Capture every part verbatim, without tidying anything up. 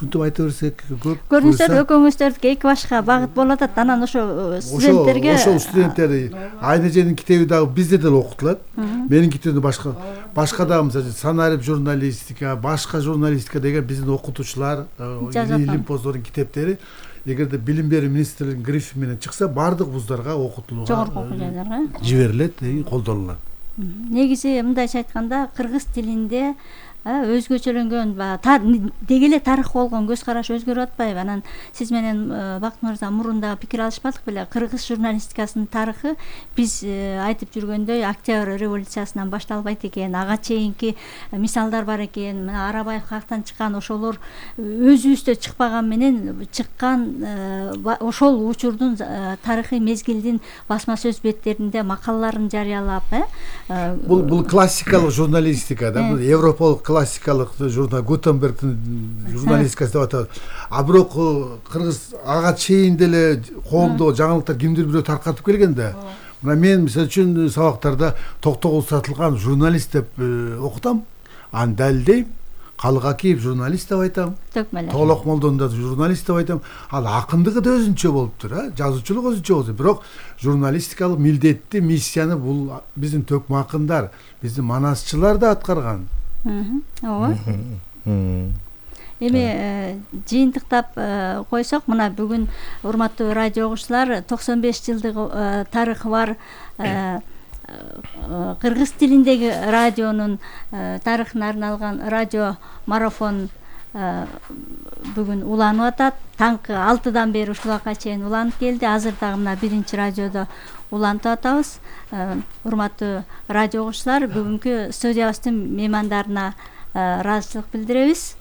ушинтип айта берсек көп. Көрүнүштөр экөөңүздөрдүкү эки башка багыт болуп атат. Анан ошо студенттерге ошол студенттер Айнаженин китеби дагы бизде деле окутулат. Менин китебимде башка башка дагы мисалы санарип журналистика, башка журналистика деген биздин окутуучулар, илимпоздордун китептери эгерде билим берүү министрлигинин грифи менен чыкса баардык вуздарга окутулууга, жогорку окуу жайларга жиберилет, колдонулат. Негизи мындайча айтканда кыргыз тилинде өзгөчөлөнгөн деги эле тарых болгон көз караш өзгөрүп атпайбы? Анан сиз менен Бакыт мырза мурунда пикир алышпадык беле? Кыргыз журналистикасынын тарыхы биз айтып жүргөндөй Октябрь революциясынан башталбайт экен. Ага чейинки мисалдар бар экен. Мына Арабаев каяктан чыккан, ошолор өзүбүздө чыкпаган менен чыккан ошол учурдун тарыхый мезгилдин басма сөз беттеринде макалаларын жарыялап, э бул бул классикалык журналистика да, бул европалык классикалык журнал Гутенбергдин журналистикасы деп атат. А бирок кыргыз ага чейин деле коомдо жаңылыктар кимдир бирөө таркатып келген да. Мына мен мисалы үчүн сабактарда токтогул сатылган журналист деп окутам, аны далилдейм. Калык Акиев журналист деп айтам. Тоолок Молдон да журналист деп айтам. Ал акындыгы да өзүнчө болуптур, а жазуучулук өзүнчө болду. Бирок журналистикалык милдетти, миссияны бул биздин төкмө акындар, биздин манасчылар да аткарган. Ооба. Эми жыйынтыктап койсок, мына бүгүн урматтуу радио угуучулар токсон беш жылдык тарыхы бар кыргыз тилиндеги радионун тарыхына арналган радио марафон бүгүн уланып атат. Таңкы алтыдан бери ушул убакка чейин уланып келди. Азыр дагы мына биринчи радиодо улантып атабыз. Урматтуу радио угуучулар, бүгүнкү студиябыздын меймандарына ыраазычылык билдиребиз.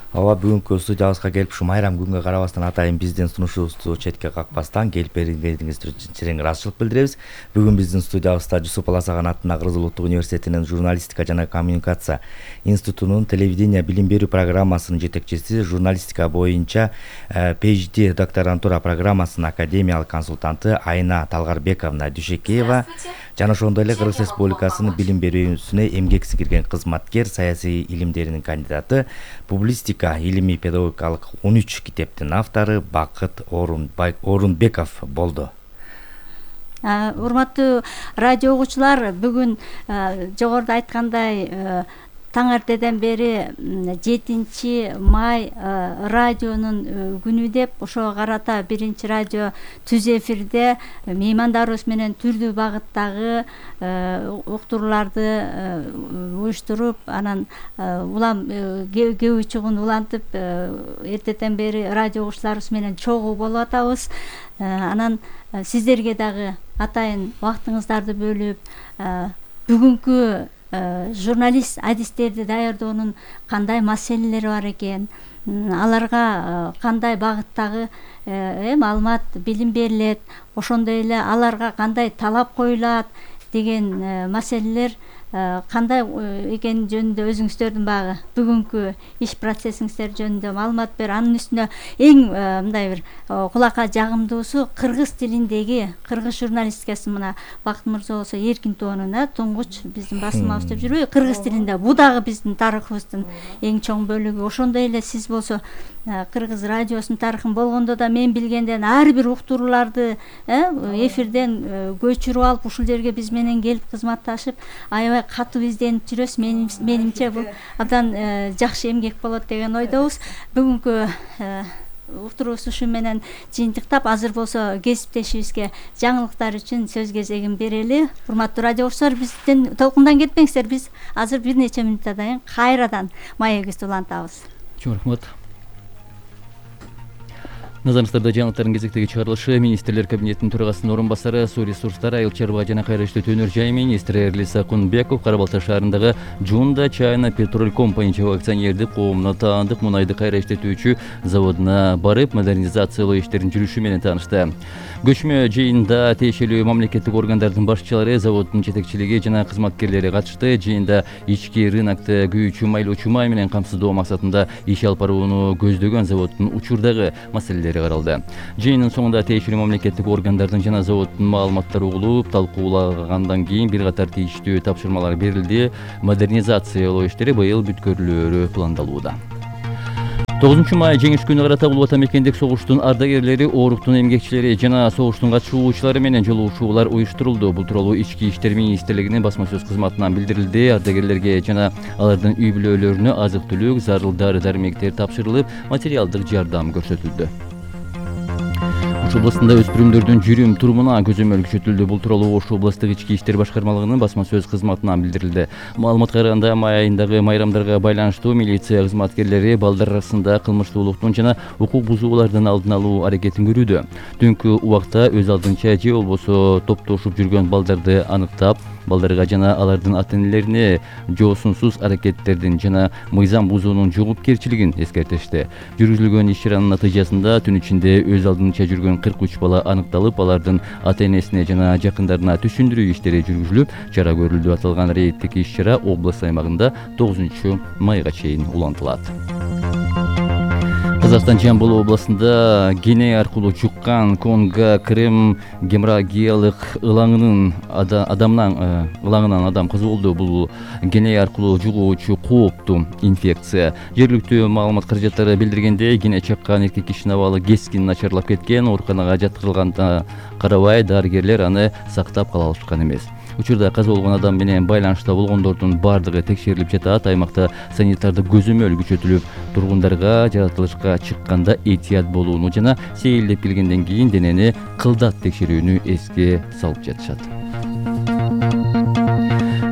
Ооба, бүгүнкү студиябызга келип ушу майрам күнгө карабастан атайын биздин сунушубузду четке какпастан келип бергениңиз үчүн чирең ыраазычылык билдиребиз. Бүгүн биздин студиябызда Жусуп Баласаган атындагы Кыргыз Улуттук университетинин журналистика жана коммуникация институтунун телевидение билим берүү программасынын жетекчиси, журналистика боюнча PhD докторантура программасынын академиялык консультанты Айна Талгарбековна Дүйшекеева жана ошондой эле Кыргыз Республикасынын билим берүүсүнө эмгек сиңирген кызматкер, саясий илимдеринин кандидаты, публистика илимий педагогикалык он үч китептин автору Бакыт Орунбеков болду. Урматтуу радио угуучулар, бүгүн жогоруда айткандай таң ертеден бери жетинчи май радионун күнү деп ошого карата биринчи радио түз эфирде меймандарыбыз менен түрдүү багыттагы уктурууларды уюштуруп, анан улам кээ учугун улантып эртеден бери радио угуучуларыбыз менен чогуу болуп атабыз. Анан сиздерге дагы атайын убактыңыздарды бөлүп бүгүнкү журналист адистерди даярдоонун кандай маселелери бар экен, аларга кандай багыттагы маалымат, билим берилет, ошондой эле аларга кандай талап коюлат деген маселелер кандай экени жөнүндө өзүңүздөрдүн багы бүгүнкү иш процессиңиздер жөнүндө маалымат бер. Анын үстүнө эң мындай бир кулакка жагымдуусу кыргыз тилиндеги кыргыз журналистикасы. Мына Бакыт мырза болсо эркин тоонун туңгуч биздин басылмабыз деп жүрбөйбү, кыргыз тилинде. Бул дагы биздин тарыхыбыздын эң чоң бөлүгү. Ошондой эле сиз болсо кыргыз радиосунун тарыхын болгондо да мен билгенден ар бир уктурууларды эфирден көчүрүп алып ушул жерге биз менен келип кызматташып аябай катуу изденип жүрөсүз. Менимче бул абдан жакшы эмгек болот деген ойдобуз. Бүгүнкү уктуруубуз ушу менен жыйынтыктап, азыр болсо кесиптешибизге жаңылыктар үчүн сөз кезегин берели. Урматтуу радио угуучулар, бизден толкундан кетпеңиздер. Биз азыр бир нече мүнөттөн кийин кайрадан маегибизди улантабыз. Чоң рахмат. Назарыңыздарда жаңылыктардын кезектеги чыгарылышы министрлер кабинетинин төрагасынын орун басары, суу ресурстары, айыл чарба жана кайра иштетүү өнөр жай министри Эрлиса Кунбеков Кара Балта шаарындагы Жунда Чайна Петроль Компани чогуу акционердик коомуна таандык мунайды кайра иштетүүчү заводуна барып, модернизациялоо иштеринин жүрүшү менен таанышты. Көчмө жыйында тиешелүү мамлекеттик органдардын башчылары, заводдун жетекчилиги жана кызматкерлери катышты. Жыйында ички рынокто күйүүчү майлоочу май менен камсыздоо максатында иш алып барууну көздөгөн заводдун учурдагы маселелери каралды. Жыйындын соңунда тиешелүү мамлекеттик органдардын жана заводдун маалыматтары угулуп, талкуулагандан кийин бир катар тийиштүү тапшырмалар берилди. Модернизациялоо иштери быйыл бүткөрүлөөрү пландалууда. тогузунчу май жеңиш күнү карата улуу ата мекендик согуштун ардагерлери, ооруктун эмгекчилери жана согуштун катышуучулары менен жолугушуулар уюштурулду. Бул тууралуу Ички иштер министрлигинин басма сөз кызматынан билдирилди. Ардагерлерге жана алардын үй бүлөлөрүнө азык-түлүк, зарыл дары-дармектер тапшырылып, материалдык жардам көрсөтүлдү. Ош областында өспүрүмдөрдүн жүрүм турумуна көзөмөл күчөтүлдү. Бул тууралуу Ош областтык ички иштер башкармалыгынын басма сөз кызматынан билдирилди. Маалыматка караганда, май айындагы майрамдарга байланыштуу милиция кызматкерлери балдар арасында кылмыштуулуктун жана укук бузуулардын алдын алуу аракетин көрүүдө. Түнкү убакта өз алдынча же болбосо топтошуп жүргөн балдарды аныктап, балдарга жана алардын ата-энелерине жоосунсуз аракеттердин жана мыйзам бузуунун жоопкерчилигин эскертишти. Жүргүзүлгөн иш-чаранын натыйжасында түн ичинде өз алдынча жүргөн кырк үч бала аныкталып, алардын ата-энесине жана жакындарына түшүндүрүү иштери жүргүзүлүп, чара көрүлдү. Аталган рейдтик иш-чара область аймагында тогузунчу майга чейин улантылат. Казакстан Жамбыл областында Гиней аркылуу жуккан Конго крем геморрагиялык ылаңынын адамнан ылаңынан адам каза болду. Бул Гиней аркылуу жугуучу кооптуу инфекция. Жергиликтүү маалымат каражаттары билдиргендей, Гиней чаккан эркек кишинин абалы кескин начарлап кеткен. Ооруканага жаткырылганына карабай, дарыгерлер аны сактап кала алышкан эмес. Учурда каза болгон адам менен байланышта болгондордун бардыгы текшерилип жатат. Аймакта санитардык көзөмөл күчөтүлүп, тургундарга жаратылышка чыкканда этият болууну жана сейилдеп келгенден кийин денени кылдат текшерүүнү эске салып жатышат.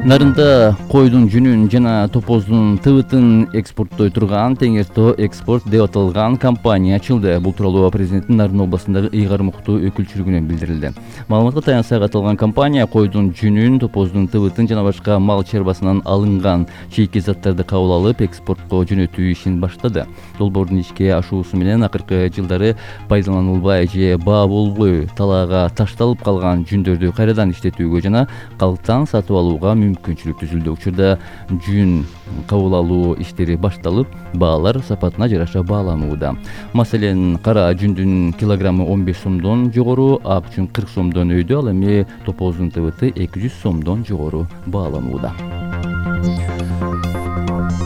Нарында койдун жүнүн жана топоздун тыбытын экспорттой турган Теңертоо экспорт деп аталган компания ачылды. Бул тууралуу президенттин Нарын областындагы ыйгар муктуу өкүлчүлүгүнөн билдирилди. Маалыматка таянсак, аталган компания койдун жүнүн, топоздун тыбытын жана башка мал чарбасынан алынган чийки заттарды кабыл алып, экспортко жөнөтүү ишин баштады. Долбоордун ишке ашуусу менен акыркы жылдары пайдаланылбай же баа болбой талаага ташталып калган жүндөрдү кайрадан иштетүүгө жана калктан сатып алууга мүмкүнчүлүк түзүлдү. Учурда жүн кабыл алуу иштери башталып, баалар сапатына жараша бааланууда. Маселен, кара жүндүн килограммы он беш сомдон жогору, ак жүн кырк сомдон өйдө, ал эми топоздун тыбыты эки жүз сомдон жогору бааланууда.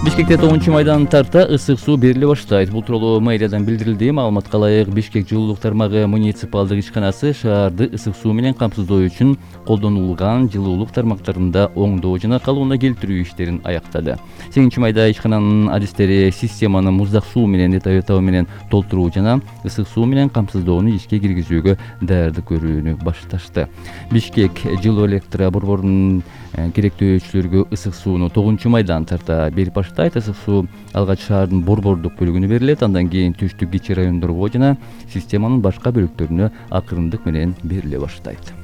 Бишкекте тогузунчу майдан тарта ысык суу бериле баштайт. Бул тууралуу мэриядан билдирилди. Маалыматка ылайык, Бишкек жылуулук тармагы муниципалдык ишканасы шаарды ысык суу менен камсыздоо үчүн колдонулган жылуулук тармактарында оңдоо жана калыбына келтирүү иштерин аяктады. сегизинчи майда ишкананын адистери системаны муздак суу менен этабы менен толтуруу жана ысык суу менен камсыздоону ишке киргизүүгө даярдык көрүүнү башташты. Бишкек жылуу электро борборунун керектөөчүлөргө ысык сууну тогузунчу майдан тарта берип баштайт. Ысык суу алгач шаардын борбордук бөлүгүнө берилет, андан кийин түштүк кичи райондорго жана системанын башка бөлүктөрүнө акырындык менен бериле баштайт.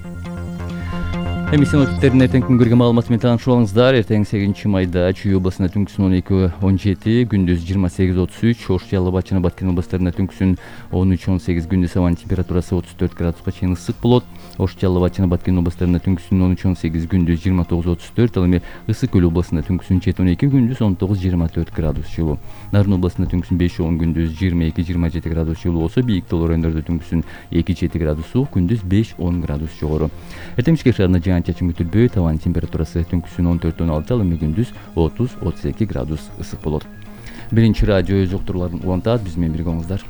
Эми синоптиктердин эртеңки күнгөргө маалыматы менен таанышып алыңыздар. Эртең сегизинчи майда Чүй областында түнкүсүн он эки он жети, күндүз жыйырма сегиз отуз үч, Ош, Жалал абад жана Баткен областарында түнкүсүн он үч он сегиз, күндүз абанын температурасы отуз төрт градуска чейин ысык болот. Ош, Жалал абад жана Баткен областарында түнкүсүн он үч он сегиз, күндүз жыйырма тогуз отуз төрт, ал эми Ысык көл областында түнкүсүн жети он эки, күндүз он тогуз жыйырма төрт градус жылуу. Нарын областында түнкүсүн беш он, күндүз жыйырма эки жыйырма жети градус жылуу болсо, бийик таулар райондордо түнкүсүн эки жети градус суук, күндүз беш он градус жогору. Эртең Бишкек шаарында жаан-чачын күтүлбөйт. Табан температурасы түнкүсүн он төрт он алты, ал эми күндүз отуз отуз эки градус ысык болот. Биринчи радио өз уктурууларын улантат, биз менен бирге болуңуздар.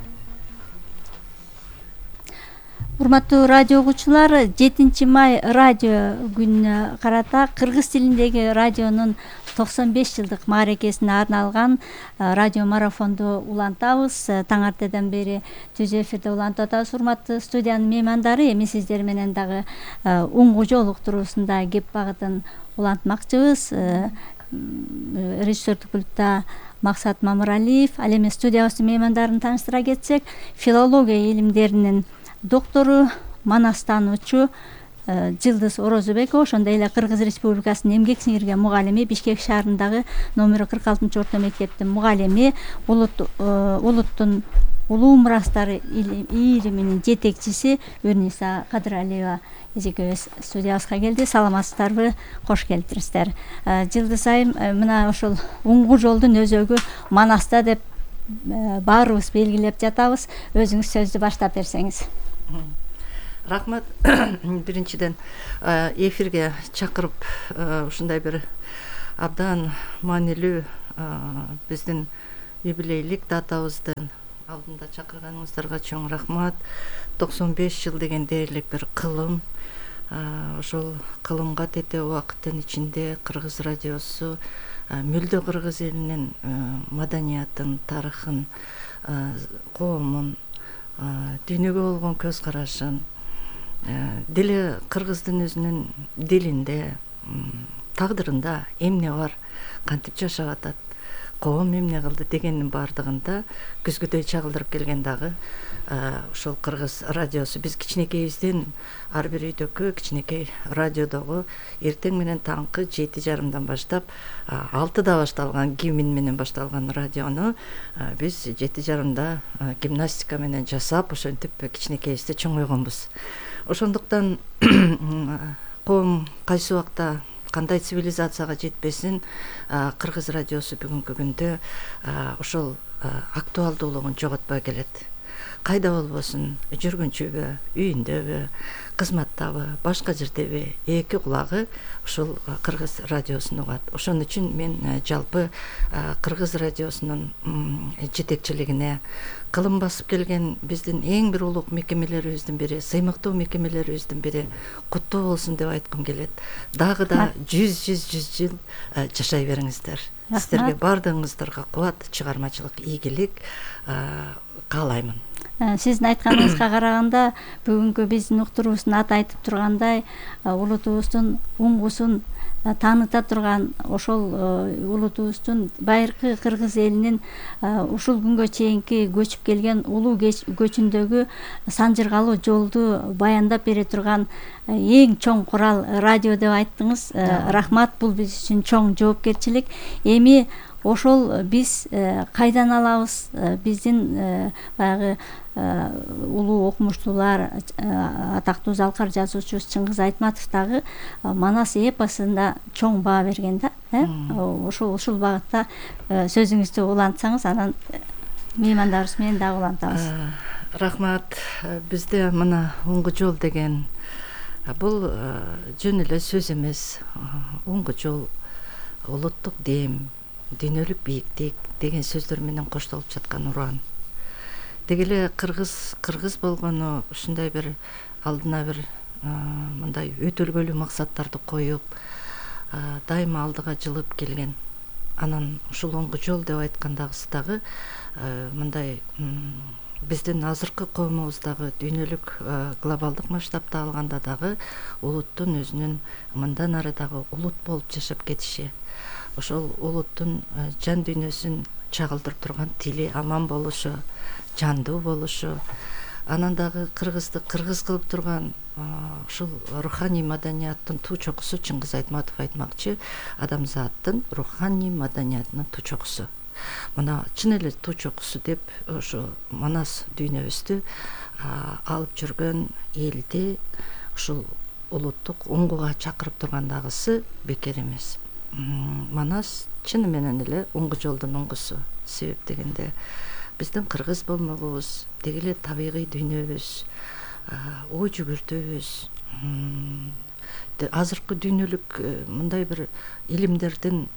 Урматтуу радио угуучулар, жетинчи май радио күнүнө карата кыргыз тилиндеги радионун токсон беш жылдык мааракесине арналган радио марафонду улантабыз. Таң артадан бери түз эфирде улантып атабыз. Урматтуу студиянын меймандары, эми сиздер менен дагы уңгу жол уктуруусунда кеп багытын улантмакчыбыз. Режиссердик пультта Максат Мамыралиев. Ал эми студиябыздын меймандарын тааныштыра кетсек, филология илимдеринин доктору, манастануучу Жылдыз Орозубекова, ошондой эле Кыргыз Республикасынын эмгек сиңирген мугалими, Бишкек шаарындагы номер кырк алтынчы орто мектептин мугалими, улуттун улуу мурастары ийриминин жетекчиси Өрниса Кадыралиева эжекебиз студиябызга келди. Саламатсыздарбы? Кош келиптириңиздер. Жылдыз айым, мына ошол уңгу жолдун өзөгү Манаста деп баарыбыз белгилеп жатабыз. Өзүңүз сөздү баштап берсеңиз. Рахмат. Биринчиден эфирге чакырып, ушундай бир абдан маанилүү биздин юбилейлик датабыздын алдында чакырганыңыздарга чоң рахмат. токсон беш жыл деген дээрлик бир кылым. Ошол кылымга тете убакыттын ичинде Кыргыз радиосу мүлдө кыргыз элинин маданиятын, тарыхын, коомун, дүйнөгө болгон көз карашын, деле кыргыздын өзүнүн дилинде, тагдырында эмне бар, кантип жашап атат, коом эмне кылды дегендин баардыгында көзгөдөй чагылдырып келген дагы ошол Кыргыз радиосу. Биз кичинекейибизден ар бир үйдөкү кичинекей радиодогу эртең менен таңкы жети жарымдан баштап алтыда башталган гимн менен башталган радиону биз жети жарымда гимнастика менен жасап ошентип кичинекейибизде чоңойгонбуз. Ошондуктан коом кайсы убакта кандай цивилизацияга жетпесин, Кыргыз радиосу бүгүнкү күндө ошол актуалдуулугун жоготпой келет. Кайда болбосун, жүргүнчүбү, үйүндөбү, кызматтабы, башка жердеби эки кулагы ушул Кыргыз радиосун угат. Ошон үчүн мен жалпы Кыргыз радиосунун жетекчилигине, кылым басып келген биздин эң бир улук мекемелерибиздин бири, сыймыктуу мекемелерибиздин бири куттуу болсун деп айткым келет. Дагы да жүз жүз жүз жыл жашай бериңиздер. Сиздерге баардыгыңыздарга кубат, чыгармачылык, ийгилик каалаймын. Сиздин айтканыңызга караганда бүгүнкү биздин уктуруубуздун аты айтып тургандай, улутубуздун уңгусун тааныта турган ошол улутубуздун байыркы кыргыз элинин ушул күнгө чейинки көчүп келген улуу көчүндөгү санжыргалуу жолду баяндап бере турган эң чоң курал радио деп айттыңыз. Рахмат, бул биз үчүн чоң жоопкерчилик. Эми ошол биз кайдан алабыз? Биздин баягы улуу окумуштуулар, атактуу залкар жазуучубуз Чыңгыз Айтматов дагы Манас эпосунда чоң баа берген да. Ошол ушул багытта сөзүңүздү улантсаңыз, анан меймандарыбыз менен дагы улантабыз. Рахмат. Бизде мына оңгу жол деген бул жөн эле сөз эмес. Оңгу жол, улуттук дем, дүйнөлүк бийиктик деген сөздөр менен коштолуп жаткан уран. Дегеле кыргыз кыргыз болгону ушундай бир алдына бир мындай өтөлгөлүү максаттарды коюп, дайыма алдыга жылып келген. Анан ушул оңгу жол деп айткандагысы дагы мындай биздин азыркы коомубуздагы дүйнөлүк глобалдык масштабта алганда дагы улуттун өзүнүн мындан ары дагы улут болуп жашап кетиши, ошол улуттун жан дүйнөсүн чагылдырып турган тили аман болушу, жандуу болушу, анан дагы кыргызды кыргыз кылып турган ушул руханий маданияттын туу чокусу. Чыңгыз Айтматов айтмакчы, адамзаттын руханий маданиятынын туу чокусу. Мына чын эле туу чокусу деп ошо Манас дүйнөбүздү алып жүргөн элди ушул улуттук оңгуга чакырып тургандагысы бекер эмес. Манас чыны менен эле оңгу жолдун оңгусу. Себеп дегенде биздин кыргыз болмогубуз, деги эле табигый дүйнөбүз, ой жүгүртүүбүз, азыркы дүйнөлүк мындай бир илимдердин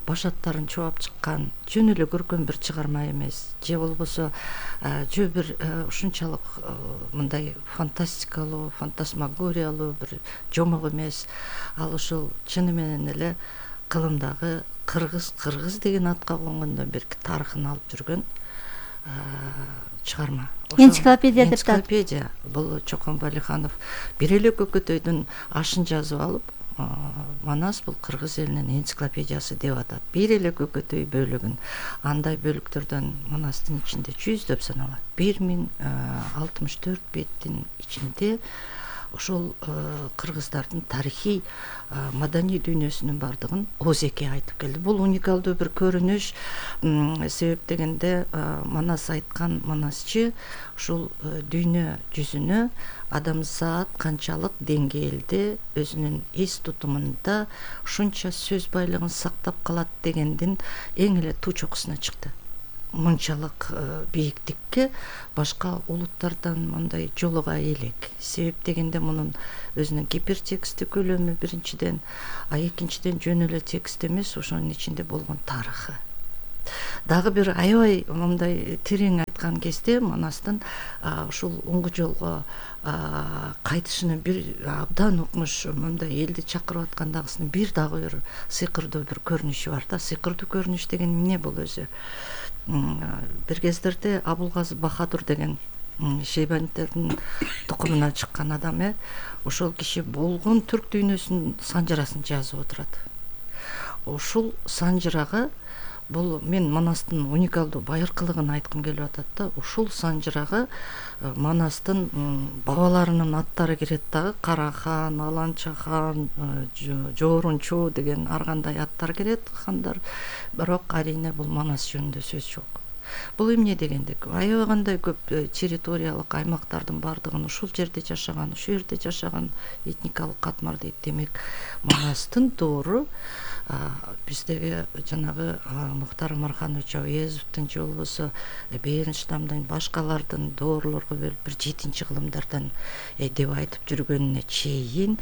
баш аттарын чубап чыккан жөн эле көркөм бир чыгарма эмес, же болбосо жөө бир ушунчалык мындай фантастикалуу, фантасмагориялуу бир жомок эмес. Ал ушул чыны менен эле кылымдагы кыргыз кыргыз деген атка конгондон берки тарыхын алып жүргөн чыгарма. Энциклопедия деп атат. Энциклопедия. Бул Чокон Балиханов бир эле көкөтөйдүн ашын жазып алып, Манас бул кыргыз элинин энциклопедиясы деп атат. Бир эле көкөтөй бөлүгүн. Андай бөлүктөрдөн Манастын ичинде жүздөп саналат. бир миң алтымыш төрт беттин ичинде ошол кыргыздардын тарыхый маданий дүйнөсүнүн бардыгын Озеке айтып келди. Бул уникалдуу бир көрүнүш. Себеп дегенде Манас айткан, Манасчы ушул дүйнө жүзүнө адамзат канчалык деңгээлде өзүнүн эс тутумунда ушунча сөз байлыгын сактап калат дегендин эң эле туу чокусуна чыкты. Мынчалык бийиктикке башка улуттардан мындай жолуга элек. Себеп дегенде мунун өзүнүн гипертексттик көлөмү биринчиден, а экинчиден жөн эле текст эмес, ошонун ичинде болгон тарыхы. Дагы бир аябай мындай терең айткан кезде Манастын ушул оңгу жолго кайтышынын бир абдан укмуш мындай элди чакырып аткандагысынын бир дагы бир сыйкырдуу бир көрүнүшү бар да. Сыйкырдуу көрүнүш деген эмне бул өзү? Бир кездерде Абулгазы Бахадур деген Шейбаниттердин тукумунан чыккан адам э ошол киши болгон түрк дүйнөсүнүн санжырасын жазып отурат. Ушул санжырага бул мен Манастын уникалдуу байыркылыгын айткым келип атат да. Ушул санжырага Манастын бабаларынын аттары кирет дагы. Карахан, Аланчахан, Жоорунчу деген ар кандай аттар кирет, хандар. Бирок арине бул Манас жөнүндө сөз жок. Бул эмне дегендик? Аябай кандай көп территориялык аймактардын бардыгын ушул жерде жашаган, ушул жерде жашаган этникалык катмар дейт. Демек, Манастын доору биздеги жанагы Мухтар Омарханович Ауезовдун же болбосо Бернштамдын башкалардын доорлорго бөлүп бир жетинчи кылымдардан деп айтып жүргөнүнө чейин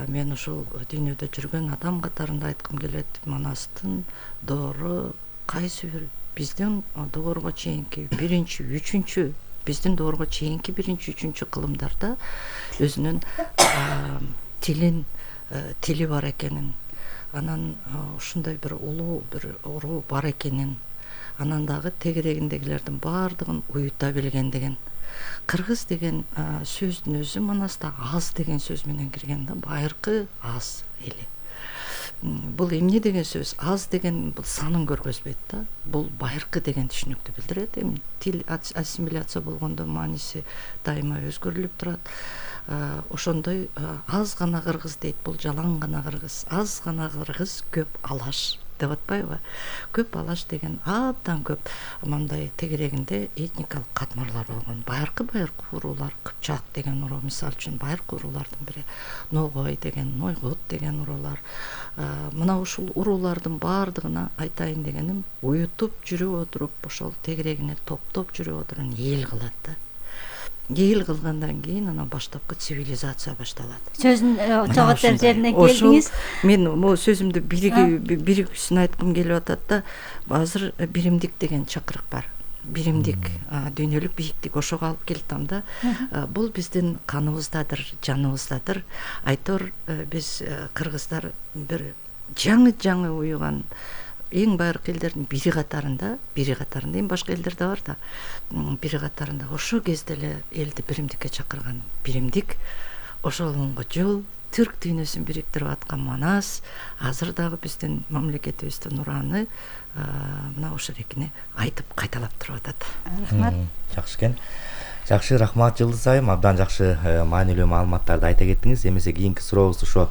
мен ушул дүйнөдө жүргөн адам катарында айткым келет. Манастын доору кайсы бир биздин доорго чейинки биринчи, үчүнчү биздин доорго чейинки биринчи, үчүнчү кылымдарда өзүнүн тилин тили бар экенин, анан ушундай бир улуу бир уруу бар экенин, анан дагы тегерегиндегилердин баардыгын уюта билген деген. Кыргыз деген сөздүн өзү Манаста аз деген сөз менен кирген да, байыркы аз эли. Бул эмне деген сөз? Аз деген бул санын көргөзбөйт да. Бул байыркы деген түшүнүктү билдирет. Эми тил ассимиляция болгондо мааниси дайыма өзгөрүлүп турат. Ошондой аз гана кыргыз дейт, бул жалаң гана кыргыз. Аз гана кыргыз, көп алаш деп атпайбы? Көп алаш деген абдан көп мындай тегерегинде этникалык катмарлар болгон. Байыркы байыркы уруулар, Кыпчак деген уруу мисалы үчүн байыркы уруулардын бири, Ногой деген, Нойгут деген уруулар. Мына ушул уруулардын баардыгына айтайын дегеним, уютуп жүрүп отуруп, ошол тегерегине топтоп жүрүп отуруп эл кылат да. Эл кылгандан кийин анан баштапкы цивилизация башталат. Сөзүн чоготор жерине келдиңиз. Мен могу сөзүмдү биригүүсүн айткым келип атат да. Азыр биримдик деген чакырык бар. Биримдик, дүйнөлүк бийиктик ошого алып келтам да. Бул биздин каныбыздадыр, жаныбыздадыр. Айтор биз кыргыздар бир жаңы-жаңы уюган эң байыркы элдердин бири катарында, бири катарында, эми башка элдер да бар да, бири катарында ошол кезде эле элди биримдикке чакырган биримдик, ошол оңго жол түрк дүйнөсүн бириктирип аткан Манас азыр дагы биздин мамлекетибиздин ураны мына ошол экени айтып кайталап туруп атат. Рахмат. Жакшы экен. Жакшы, рахмат Жылдыз айым, абдан жакшы маанилүү маалыматтарды айта кеттиңиз. Эмесе кийинки сурообуз ошо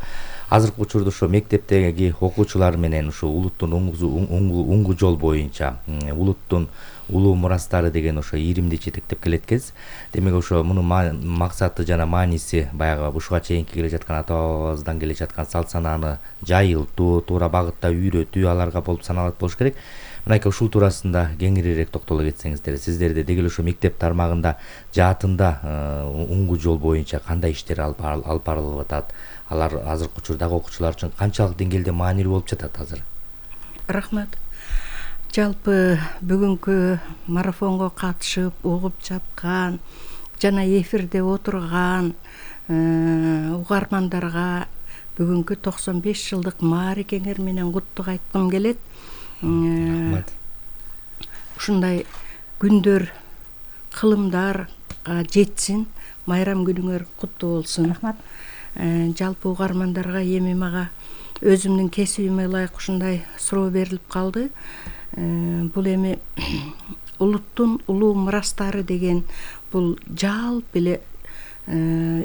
азыркы учурда ошо мектептеги окуучулар менен ушу улуттун оңгу жол боюнча улуттун улуу мурастары деген ошо иримди жетектеп келеткенсиз. Демек ошо мунун максаты жана мааниси баягы ушуга чейинки келе жаткан ата бабабыздан келе жаткан салт санааны жайылтуу, туура багытта үйрөтүү аларга болуп саналат болуш керек. Мынакей ушул туурасында кеңирээк токтоло кетсеңиздер, сиздерде деги эле ошо мектеп тармагында жаатында оңгу жол боюнча кандай иштер алып барылып атат? Алар азыркы учурдагы окуучулар үчүн канчалык деңгээлде маанилүү болуп жатат азыр? Рахмат. Жалпы бүгүнкү марафонго катышып, угуп жаткан жана эфирде отурган угармандарга бүгүнкү токсон беш жылдык маарекеңер менен куттук айткым келет. Рахмат. Ушундай күндөр, кылымдар жетсин. Майрам күнүңөр куттуу болсун. Рахмат. Жалпы угармандарга эми мага өзүмдүн кесибиме ылайык ушундай суроо берилип калды. Бул эми улуттун улуу мурастары деген бул жалпы эле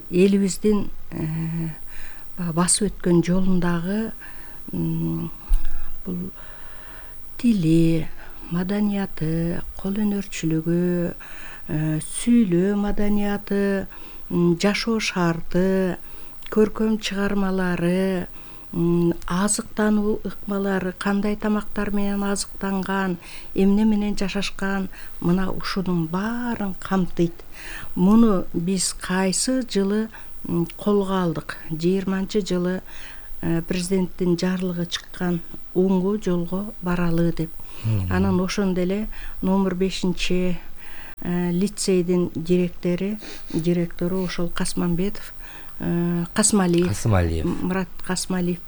элибиздин басып өткөн жолундагы бул тили, маданияты, кол өнөрчүлүгү, сүйлөө маданияты, жашоо шарты, көркөм чыгармалары, азыктануу ыкмалары, кандай тамактар менен азыктанган, эмне менен жашашкан, мына ушунун баарын камтыйт. Муну биз кайсы жылы колго алдык? жыйырманчы жылы президенттин жарлыгы чыккан оңго жолго баралы деп. Анан ошондо эле номер бешинчи лицейдин директору директору ошол Касманбетов Касмалиев Касмалиев Мурат Касмалиев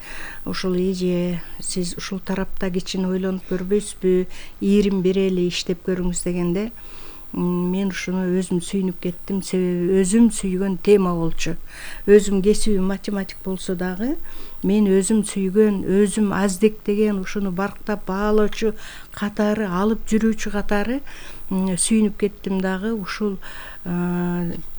ошол эже сиз ушул тарапта кичине ойлонуп көрбөйсүзбү, ийрим берели иштеп көрүңүз дегенде мен ушуну өзүм сүйүнүп кеттим. Себеби өзүм сүйгөн тема болчу. Өзүм кесибим математик болсо дагы мен өзүм сүйгөн, өзүм аздектеген, ушуну барктап баалоочу катары, алып жүрүүчү катары сүйүнүп кеттим дагы. Ушул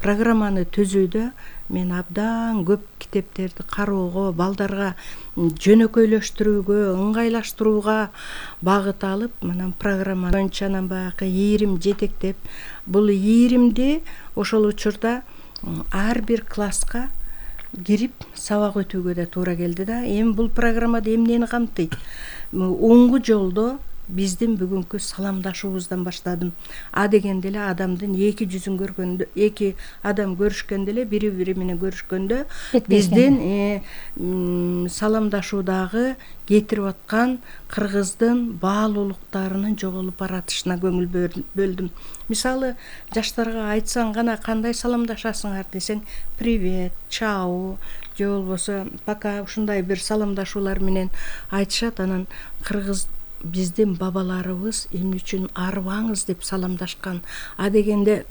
программаны түзүүдө мен абдан көп китептерди кароого, балдарга жөнөкөйлөштүрүүгө, ыңгайлаштырууга багыт алып, анан программа боюнча анан баягы ийрим жетектеп, бул ийримди ошол учурда ар бир класска кирип сабак өтүүгө да туура келди да. Эми бул программада эмнени камтыйт? Оңгу жолдо биздин бүгүнкү саламдашуубуздан баштадым. А дегенде эле адамдын эки жүзүн көргөндө, эки адам көрүшкөндө эле, бири бири менен көрүшкөндө биздин саламдашуудагы кетирип аткан кыргыздын баалуулуктарынын жоголуп баратышына көңүл бөлдүм. Мисалы, жаштарга айтсаң гана кандай саламдашасыңар десең, привет, чау, же болбосо пока, ушундай бир саламдашуулар менен айтышат. Анан кыргыз биздин бабаларыбыз эмне үчүн арыбаңыз деп саламдашкан? А дегенде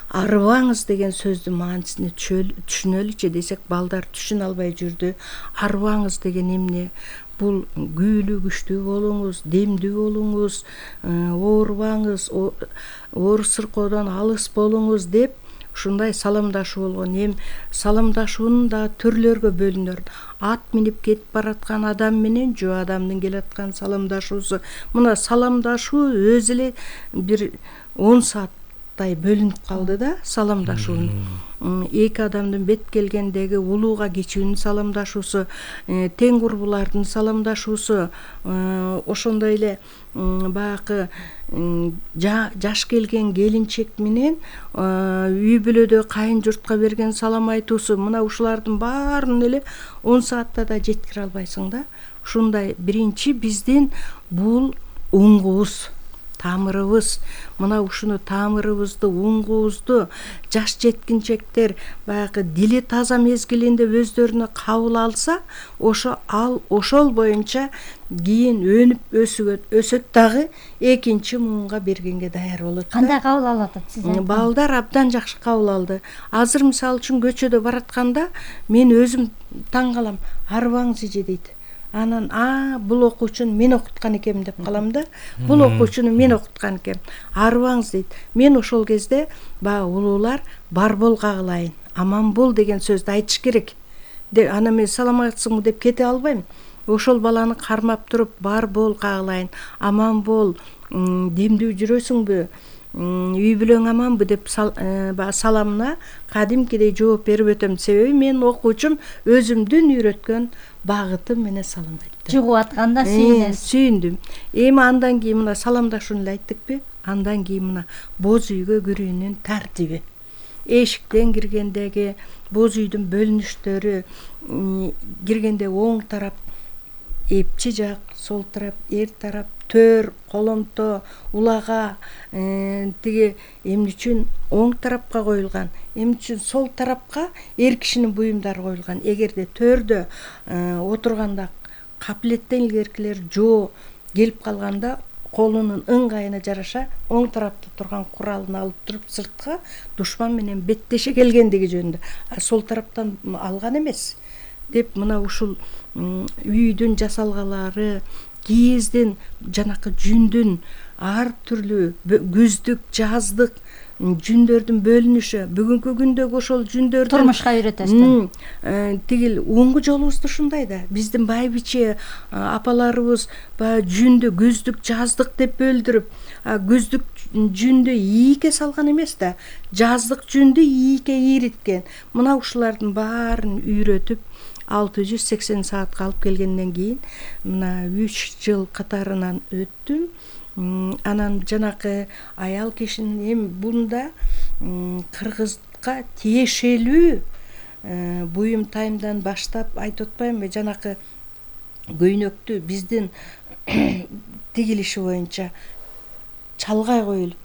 арыбаңыз деген сөздүн маанисин түшүнөлүчү десек, балдар түшүнө албай жүрдү. Арыбаңыз деген эмне? Бул күүлүү күчтүү болуңуз, демдүү болуңуз, оорубаңыз, оору сыркоодон алыс болуңуз деп ушундай саламдашуу болгон. Эми саламдашуунун да түрлөргө бөлүнөр. Ат минип кетип бараткан адам менен жөө адамдын келаткан саламдашуусу. Мына саламдашуу өзү эле бир он сааттай бөлүнүп калды да, саламдашуунун. Эки адамдын бет келгендеги улууга кичүүнүн саламдашуусу, тең курбулардын саламдашуусу, ошондой эле баягы жаш келген келинчек менен үй бүлөдө кайын журтка берген салам айтуусу. Мына ушулардын баарын эле он саатта да жеткире албайсың да. Ушундай биринчи биздин бул уңгубуз, тамырыбыз. Мына ушуну тамырыбызды, уңгубузду жаш жеткинчектер баягы дили таза мезгилинде өздөрүнө кабыл алса, ошо ал ошол боюнча кийин өнүп өсүгөт, өсөт дагы экинчи муунга бергенге даяр болот. Кандай кабыл алып атат сиз? Балдар абдан жакшы кабыл алды. Азыр мисалы үчүн көчөдө баратканда мен өзүм таң калам. Арыбаңыз эже дейт. Анан а бул окуучуну мен окуткан экенмин деп калам да. Бул окуучуну мен окуткан экенмин. Арыбаңыз дейт. Мен ошол кезде баягы улуулар бар бол кагылайын, аман бол деген сөздү айтыш керек. Анан мен саламатсыңбы деп кете албайм. Ошол баланы кармап туруп бар бол кагылайын, аман бол, демдүү жүрөсүңбү, үй бүлөң аманбы деп саламына кадимкидей жооп берип өтөм. Себеби мен окуучум өзүмдүн үйрөткөн багытым менен салам айтты. Жугуп атканда сүйүнөсүз. Сүйүндүм. Эми андан кийин мына саламдашууну эле айттыкпы? Андан кийин мына боз үйгө кирүүнүн тартиби. Эшиктен киргендеги боз үйдүн бөлүнүштөрү, киргенде оң тарап эпчи жак, сол тарап эр тарап, төр, коломто, улага, тиги эмне үчүн оң тарапка коюлган, эмне үчүн сол тарапка эр кишинин буюмдары коюлган. Эгерде төрдө отурганда капилеттен илгеркилер жоо келип калганда колунун ыңгайына жараша оң тарапта турган куралын алып туруп сыртка душман менен беттеше келгендиги жөнүндө. А сол тараптан алган эмес деп мына ушул үйдүн жасалгалары, кийиздин, жанакы жүндүн ар түрлүү күздүк, жаздык жүндөрдүн бөлүнүшү, бүгүнкү күндөгү ошол жүндөрдүн турмушка үйрөтөсүз. Тигил оңгу жолубузду ушундай да. Биздин байбиче апаларыбыз баягы жүндү күздүк, жаздык деп бөлдүрүп, күздүк жүндү ийике салган эмес да, жаздык жүндү ийике ийриткен. Мына ушулардын баарын үйрөтүп алты жүз сексен саатка алып келгенден кийин мына үч жыл катарынан өттүм. Анан жанакы аял кишинин эми бунда кыргызга тиешелүү буюм тайымдан баштап айтып атпаймынбы, жанакы көйнөктү биздин тигилиши боюнча чалгай коюлуп